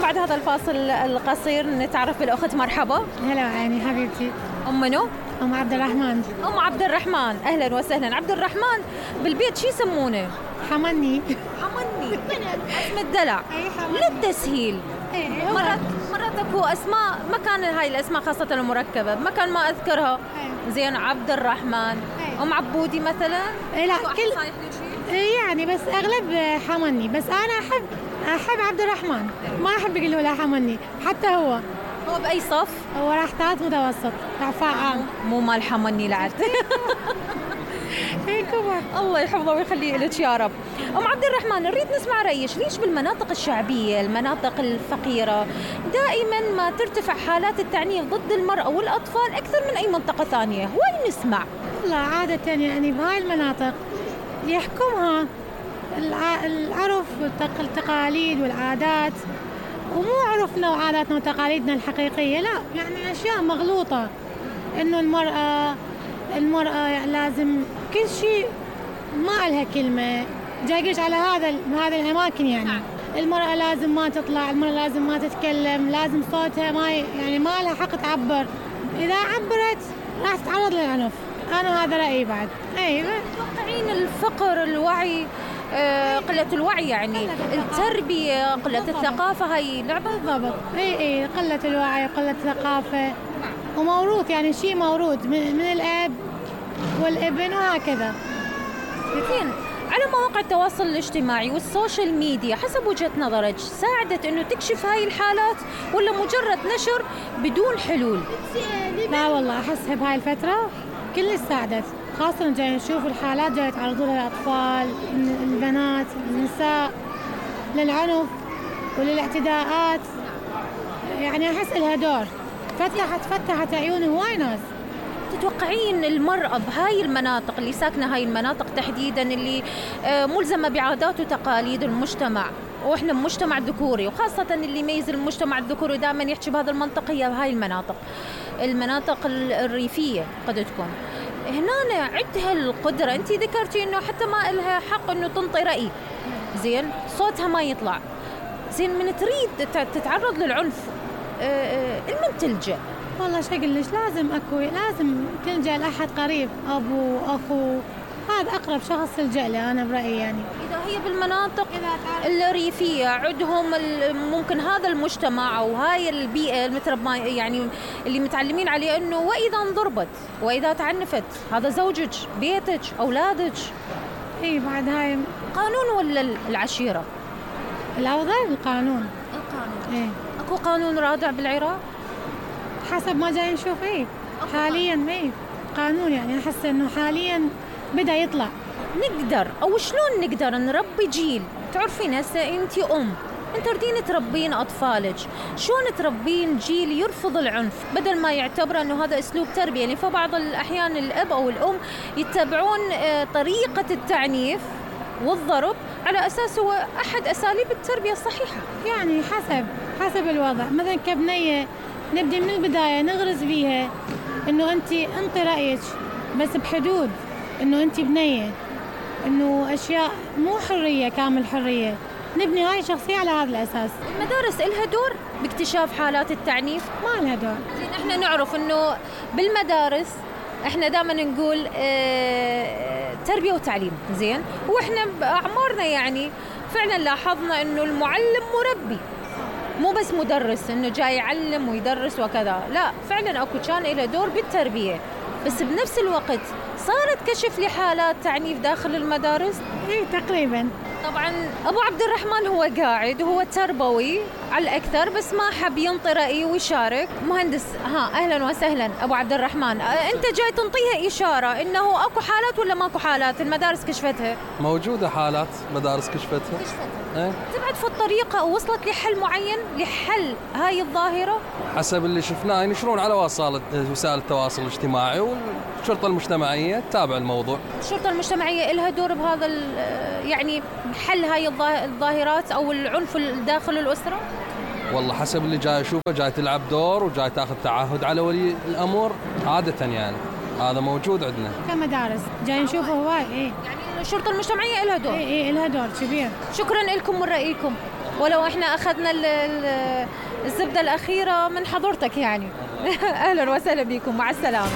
بعد هذا الفاصل القصير نتعرف بالأخت. مرحبا. هلا عيني حبيبتي. أم منو؟ أم عبد الرحمن. أم عبد الرحمن، أهلا وسهلا. عبد الرحمن بالبيت شو يسمونه؟ حمني. حمني اسم الدلع. أي حمني. للتسهيل. مرات اكو اسماء ما كان هاي الاسماء خاصة المركبة ما كان ما اذكرها. زين عبد الرحمن. ام عبودي مثلا؟ لا كل يعني بس اغلب حمني، بس انا احب عبد الرحمن، ما احب يقولوا له حمني. حتى هو باي صف؟ هو راح ثالث متوسط، اعفاء عام. مو مال حمني لعد. كبر. الله يحفظه ويخليه لك يا رب. ام عبد الرحمن نريد نسمع رأيك، ليش بالمناطق الشعبية المناطق الفقيرة دائما ما ترتفع حالات التعنيف ضد المرأة والأطفال أكثر من أي منطقة ثانية؟ وين نسمع؟ والله عادة يعني بهاي المناطق يحكمها العرف والتقاليد والعادات، ومو عرفنا وعاداتنا وتقاليدنا الحقيقية، لا يعني أشياء مغلوطة. إنه المرأة لازم كل شيء ما لها كلمة، جايش على هذا الأماكن يعني. المرأة لازم ما تطلع، المرأة لازم ما تتكلم، لازم صوتها ما لها حق تعبر. إذا عبرت راح تتعرض للعنف. أنا هذا رأيي بعد. أيوة. تتوقعين الفقر، الوعي، قلة الوعي يعني التربية، قلة الثقافة هاي لعبة؟ بالضبط. اي قلة الوعي وقلة الثقافة، وموروث يعني شيء موروث من الأب والابن وهكذا. زين، على مواقع التواصل الاجتماعي والسوشيال ميديا حسب وجهة نظرك ساعدت انه تكشف هاي الحالات ولا مجرد نشر بدون حلول؟ لا والله احس بهاي الفترة كل ساعدت، خاصة جاي نشوف الحالات جاي يتعرضوا لها الأطفال، البنات، النساء، للعنف وللاعتداءات. يعني أحس لها دور، فتحت عيون هواي ناس. تتوقعين المرأة بهاي المناطق اللي ساكنة هاي المناطق تحديدا اللي ملزمة بعادات وتقاليد المجتمع، واحنا مجتمع ذكوري، وخاصة اللي يميز المجتمع الذكوري دائما يحكي بهذا المنطقة هي بهاي المناطق الريفية قد تكون هنا عندها القدرة. انت ذكرتي انه حتى ما لها حق انه تنطي رأي، زين صوتها ما يطلع، زين من تريد تتعرض للعنف المن تلجأ؟ والله شو اقول لك، لازم تلجأ لأحد قريب، ابو، اخو، هذا اقرب شخص تلجأ له انا برأيي. يعني اذا هي بالمناطق الريفية عندهم ممكن هذا المجتمع او هاي البيئة المتربى يعني اللي متعلمين عليه انه واذا انضربت واذا تعنفت هذا زوجك، بيتك، اولادك. اي بعد هاي قانون ولا العشيرة؟ الافضل القانون. ايه اكو قانون رادع بالعراق حسب ما جاي نشوف. حاليا قانون، يعني احس انه حاليا بدأ يطلع. نقدر او شلون نقدر نربي جيل؟ تعرفين هسه انت انت تريدين تربين اطفالك، شلون تربين جيل يرفض العنف بدل ما يعتبر انه هذا اسلوب تربيه؟ يعني فبعض الاحيان الاب او الام يتبعون طريقه التعنيف والضرب على اساس هو احد اساليب التربيه الصحيحه. يعني حسب الوضع. مثلا كبنيه نبدي من البدايه نغرز بيها انه انطي رايك بس بحدود، انه انت بنيه، انه اشياء مو حريه كامل حريه. نبني هاي الشخصيه على هذا الاساس. المدارس إلها دور باكتشاف حالات التعنيف؟ ما لها دور. زين احنا نعرف انه بالمدارس احنا دائما نقول تربيه وتعليم، زين، واحنا باعمارنا يعني فعلا لاحظنا انه المعلم مربي مو بس مدرس انه جاي يعلم ويدرس وكذا، لا فعلا اكو كان له دور بالتربيه، بس بنفس الوقت صارت كشف لحالات تعنيف داخل المدارس. تقريبا. طبعا ابو عبد الرحمن هو قاعد وهو تربوي على الاكثر بس ما حب ينطي رايه ويشارك. مهندس، اهلا وسهلا ابو عبد الرحمن، انت جاي تنطيها اشاره انه اكو حالات ولا ماكو حالات المدارس كشفتها؟ موجوده حالات مدارس كشفتها. تبعد في الطريقه ووصلت لحل معين لحل هاي الظاهره؟ حسب اللي شفناه ينشرون على وسائل التواصل الاجتماعي، والشرطه المجتمعيه تتابع الموضوع. الشرطه المجتمعيه لها دور بهذا يعني حل هاي الظاهرات او العنف داخل الاسره؟ والله حسب اللي جاي اشوفه جاي تلعب دور وجاي تاخذ تعهد على ولي الامر عاده، يعني هذا موجود عندنا كمدارس جاي نشوفه هواي. يعني الشرطه المجتمعيه لها دور. لها دور كبير. شكرا لكم من رايكم. ولو احنا اخذنا الزبدة الأخيرة من حضرتك يعني. اهلا وسهلا بكم، مع السلامة.